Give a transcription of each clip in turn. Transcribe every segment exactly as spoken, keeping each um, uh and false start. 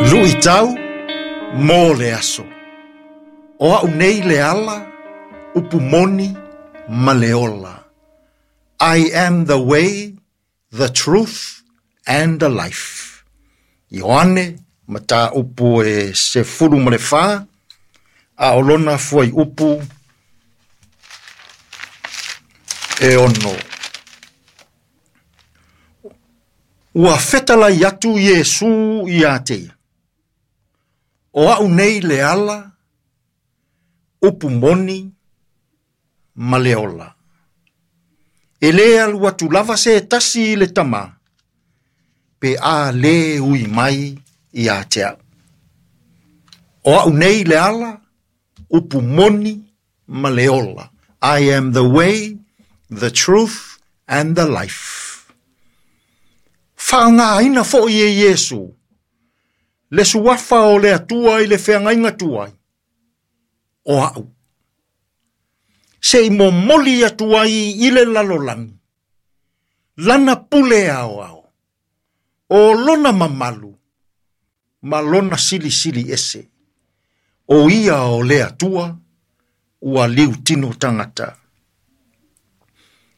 Luʻitau mo le aso. O aʻu nei le ala, upu moni ma le ola. I am the way, the truth and the life. Ioane mataupu e sefulu ma le fa, a o lona fuaiupu e ono. Ua fetalai atu Iesu ia te ia. O aʻu nei le ala, upu moni ma le ola. E lē alu atu lava se tasi i le Tamā, pe a lē ui mai ia te aʻu. O aʻu nei le ala, upu moni ma le ola. I am the way, the truth and the life. Faaaogāina foʻi e Iesu le suafa o le Atua i le feagaiga tuai, o aʻu. Seʻi momoli atu ai i le lalolagi, lana pule aoao, o lona mamalu, ma lona silisili ese, o ia o le Atua, ua liutino tagata.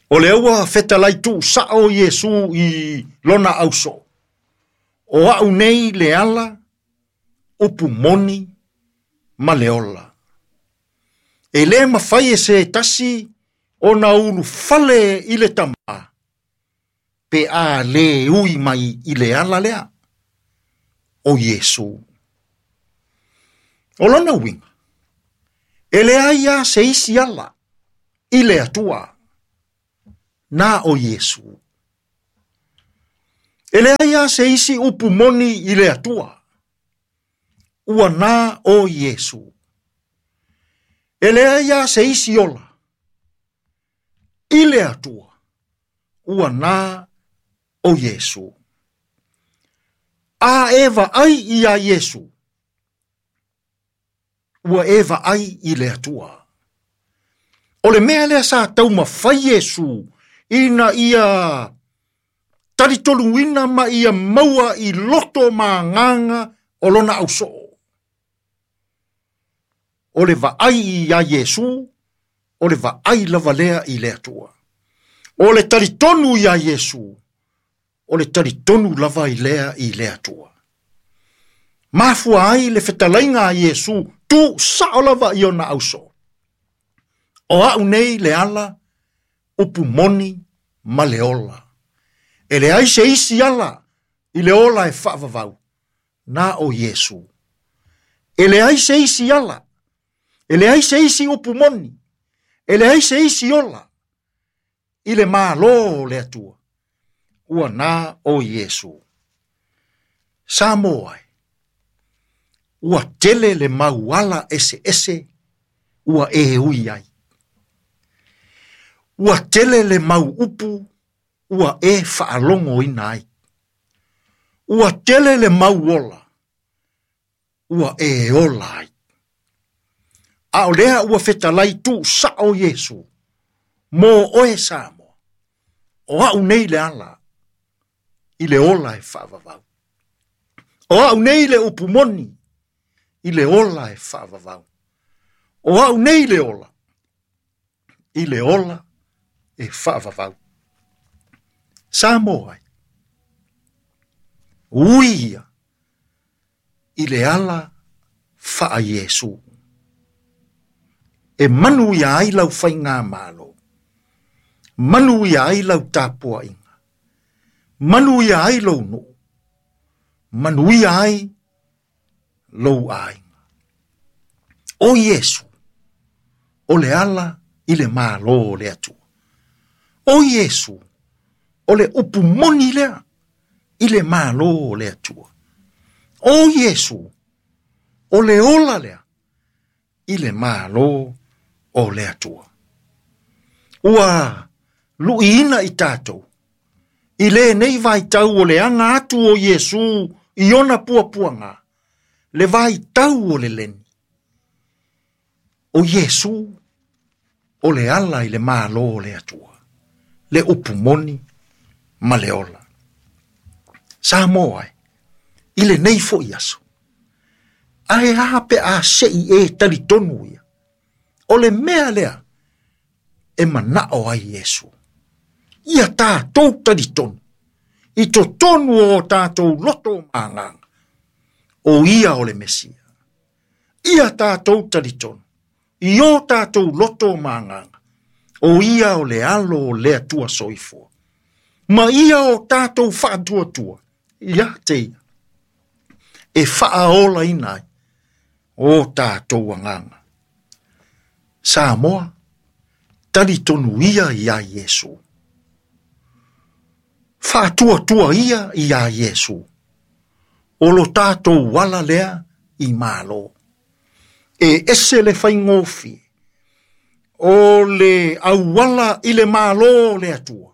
O le ua fetalai tuusaʻo Iesu i lona ausoo. O aʻu nei le ala, upu moni ma le ola. E lē mafai e se tasi ona ulufale i le Tamā, pe a lē ui mai i le ala lea, o Iesu. O lona uiga, e leai a se isi ala i le Atua, na o Iesu. E leai a se isi upu moni i le Atua, ua na o Iesu. E leai a se isi ola i le Atua, ua na o Iesu. A e vaai ia Iesu, ua e vaai i le Atua. O le mea lea sa taumafai Iesu ina ia talitoluina ma ia maua i loto ma agaga o lona ausoo. O le vaai ia Iesu, o le vaai lava lea i le Atua. O le talitonu ia Iesu, o le talitonu lava i lea i le Atua. Mafua ai le fetalaiga a Iesu, tuusaʻo lava i ona ausoo. O aʻu nei le ala, upu moni ma le ola. E leai se isi ala i le ola e faavavau, na o Iesu. E leai se isi ala, e leai se isi upu moni, e leai se isi ola i le Mālō o le Atua, ua na o Iesu. Samoa e, ua tele le mau ala eseese ua e ui ai. Ua tele le mau upu ua e faalogoina ai. Ua tele le mau ola ua e ola ai. A o lea ua fetalai tuusaʻo Iesu mo oe Samoa. O aʻu nei le ala i le ola e faavavau. O aʻu nei le upu moni i le ola e faavavau. O aʻu nei le ola i le ola e faavavau. Samoa e, ui ia i le ala faa Iesu. E manu ia ai lau faigamalo, manu ia ai lau tapuaiga, manu ia ai lou nuu, manuia ai lou aiga. O Iesu, o le ala i le Mālō o le Atua. O Iesu, o le upu moni lea i le Mālō o le Atua. O Iesu, o le ola lea i le Mālō o le Atua. Ua luʻiina i tatou i lenei vaitau o le aga atu o Iesu i ona puapuaga, le vaitau o le leni. O Iesu o le ala i le Mālō o le Atua, le upu moni ma le ola. Samoa e, i lenei foʻi aso. Ae a pe a sei e talitonu ia. O le mea lea e manao ai Iesu. Ia tātou talitonu. I totonu o tātou loto ma agaga. O ia o le Mesia. Ia tātou talitonu. I o tātou loto ma agaga. O ia o le alo o le Atua soifua. Ma ia o tātou faatuatua. Ia te ia. E faaolaina ai o tātou agaga. Samoa, talitonu ia ia Iesu. Faatuatua ia ia Iesu. O lo tātou wala lea i malo. E ese le faigofie. O le auala i le malo le Atua.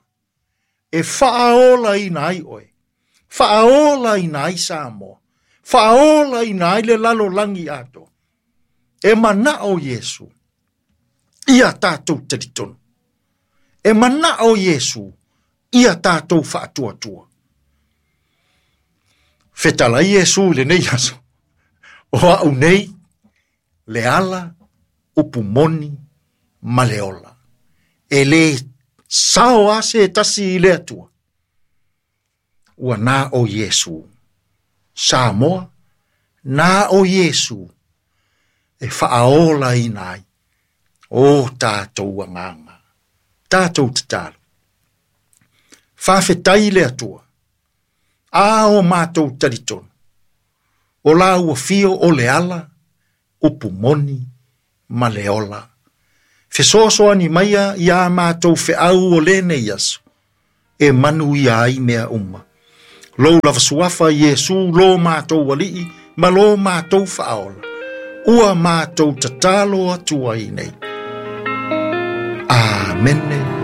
E faaolaina ai oe. Faaolaina ai Samoa. Faaolaina ai le lalolagi atoa. E manao Iesu. Ia tātou talitonu. E manao Iesu. Ia tātou faatuatua. Fetalai Iesu i lenei aso. O au nei, le ala, upu moni, ma le ola. E le sao a se tasi i le Atua. Ua na o Iesu. Samoa, na o Iesu. E faaolaina ai o tātou agaga. Tātou tatalo. Faafetai le Atua. A o mātou talitonu. O la ua fio o le ala, upu moni, ma le ola. Fesoasoani maia ia mātou feau o lenei aso. E manuia ai mea uma. Lou lava suafa Iesu lo mātou alii, ma lo mātou faaola. Ua mātou tatalo atu ai nei. Amene.